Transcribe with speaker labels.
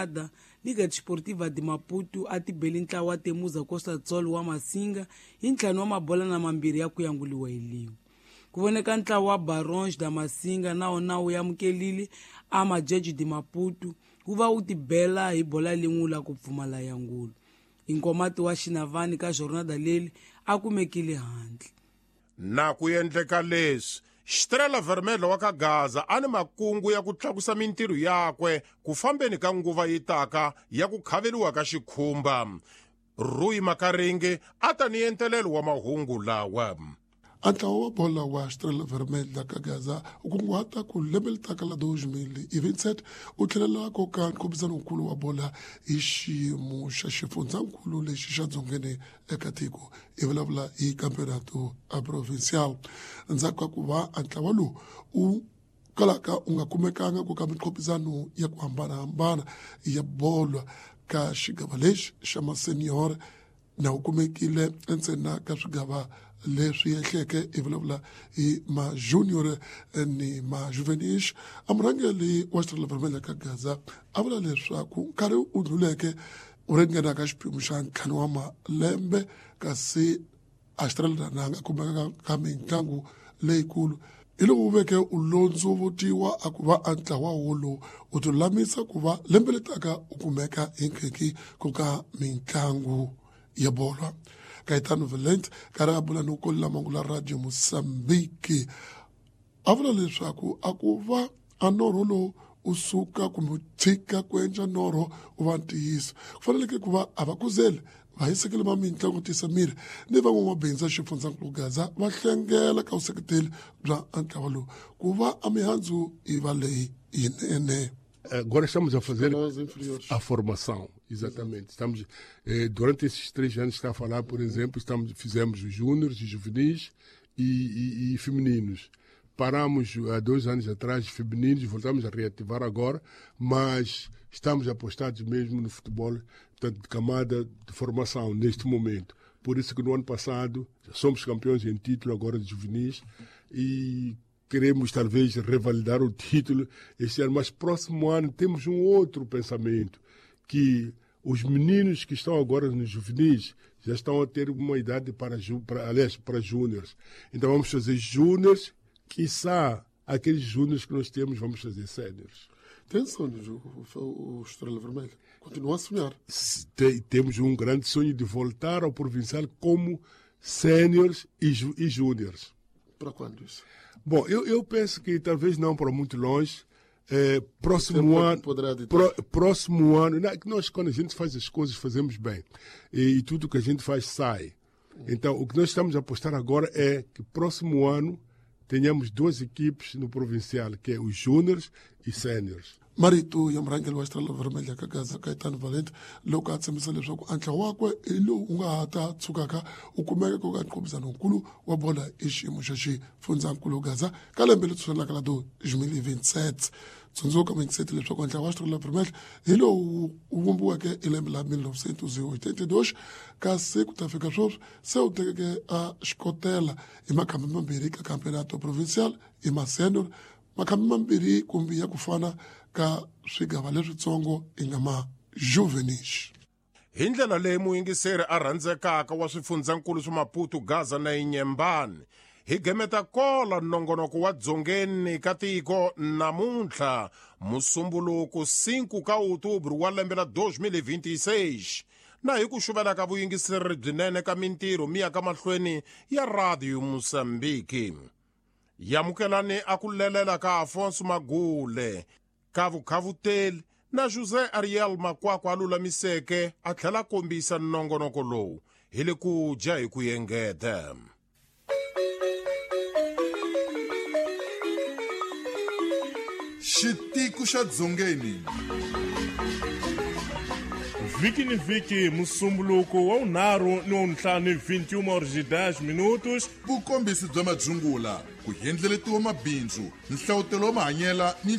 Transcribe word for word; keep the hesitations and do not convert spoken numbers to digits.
Speaker 1: Ada Liga Desportiva de Maputo a ti beli ntlawa wa Temuza Costa Tsol wa Masinga hi ntlhanu wa mabola na mambirhi ya ku yanguliwa hi lin'we. Ku voneka ntlawa wa Barões da Masinga na wona wu amukelile a Majeji de Maputo wu va wu tibela hi bola lin'we la ku pfumala yangulo. Inkomati wa Xinavani ka jornada leli a kumekile handle.
Speaker 2: Na ku endleka leswi, Estrela Vermelha wa ka Gaza a ni makungu ya ku tlakusa mintirho yakwe ku fambeni ka nguva yi taka ya ku khaveliwa ka xikhumba. Rui Makaringe a ta ni entelelo wa mahungu lawa.
Speaker 3: A ntlawa wa bola wa Estrela Vermelha ka Gaza u kunguhata ku lembe leri taka la deux mille vingt-sept u tlhelela ko ka nkhumbisanokulu wa bola hi xiyimo xa xifundzankulu lexi xa dzongeni eka tiko i vulavula hi campeonato provincial. Ndzhaku ka ku va a ntlawa lowu u kalaka u nga kumekanga ku ka minkhopisano ya ku hambanahambana ya bolo ka xigava lexi xa masenior na wu kumekile ntsena ka swigava leswi ehleke i vulavula hi ma junior ni ma juvenis. A murhangeri wa Estrela Vermelha ka Gaza a vula leswaku nkarhi wu ndluleke wu ringana ka xiphemu xa ntlhanu wa malembe kasi a Estrela na nga kumeka ka mitlangu leyikulu hi loko wu veke u londzovutiwa a ku va a ntlawa wolowu u ti lulamisa ku va lembe letaka u kumeka hi nkhenki ku ka mitlangu ya bolo. Caetano Valente karhi a bula ni ku kolela mangula Radio Mozambique a vula leswaku a ku va a norho lowu u suka kumbe u tshika ku endla norho u va ntiyiso ku faneleke ku va a va kuzeli va hisekele ma mitlangu tisa miri ni van'wamabindzu ya xifundzankulu Gaza va hlengela ka vuseketeli bya ntlawa lowu ku va a mihandzu yi va leyi yinene.
Speaker 4: Agora estamos a fazer a formação, exatamente. Estamos, eh, durante esses três anos está a falar, por exemplo, estamos, fizemos os júniores, os juvenis e, e, e femininos. Paramos há dois anos atrás, femininos, voltamos a reativar agora, mas estamos apostados mesmo no futebol, portanto, de camada de formação neste momento. Por isso que no ano passado somos campeões em título agora de juvenis e queremos talvez revalidar o título este ano, mas próximo ano temos um outro pensamento, que os meninos que estão agora nos juvenis já estão a ter uma idade para, para, aliás, para júniores. Então vamos fazer júniores, quiçá aqueles júniores que nós temos, vamos fazer séniores.
Speaker 3: Tem sonhos, o, o Estrela Vermelha? Continua a sonhar.
Speaker 4: Tem, temos um grande sonho de voltar ao provincial como séniores e, e júniores.
Speaker 3: Para quando isso?
Speaker 4: Bom, eu, eu penso que talvez não para muito longe. É, próximo ano, pro, próximo ano, nós quando a gente faz as coisas fazemos bem e, e tudo que a gente faz sai. Então o que nós estamos a apostar agora é que próximo ano tenhamos duas equipes no provincial, que é os júniores e séniores.
Speaker 3: Marito ya murhangeri wa Estrela Vermelha ka Gaza Caetano Valente loko a tshembisa leswaku a ntlawa wakwe hi lowu wu nga ha ta tshukaka u kumeka ku ka nkhumbisanokulu wa bola hi xiyimo xa xifundzankulu Gaza ka lembe leri tshunelaka la deux mille vingt-sept. Tsundzuka mingiseti leswaku ntlawa wa Estrela Vermelha hi lowu wu vumbiweke hi lembe la mille neuf cent quatre-vingt-deux kasi ku ta fika sweswi se wu tekeke a xikotela hi makhambi mambirhi ka campeonato provincial hi masenor makhambi mambirhi kumbe ya ku fana ka swigava leswitsongo i nga ma juvenis.
Speaker 2: Hi ndlela leyi muyingiseri a rhandzekaka wa swifundzankulu swa Maputo, Gaza na Inyembani, hi gemeta kola nongonoko wa dzongeni ka tiko namuntlha musumbuluku cinco ka outubro wa lembe la deux mille vingt-six na hi ku xuvela ka vuyingiseri byinene ka mintirho miya ka mahlweni ya Radio Mozambique. Yamukelani a ku lelela ka Afonso Magule ka vukhavuteli na José Ariel Makwakwa a lulamiseke a tlhela kombisa nongonoko lowu hi le ku dya hi ku engeta.
Speaker 5: Xitiko xa Dzongeni.
Speaker 6: Vhiki ni vhiki musumbuluko wa vunharhu ni wa vuntlhanu vinte e uma horas e dez minutos.
Speaker 5: Vukombisi bya madzungula, ku endleletiwa mabindzu, nhlawutelo wa mahanyela ni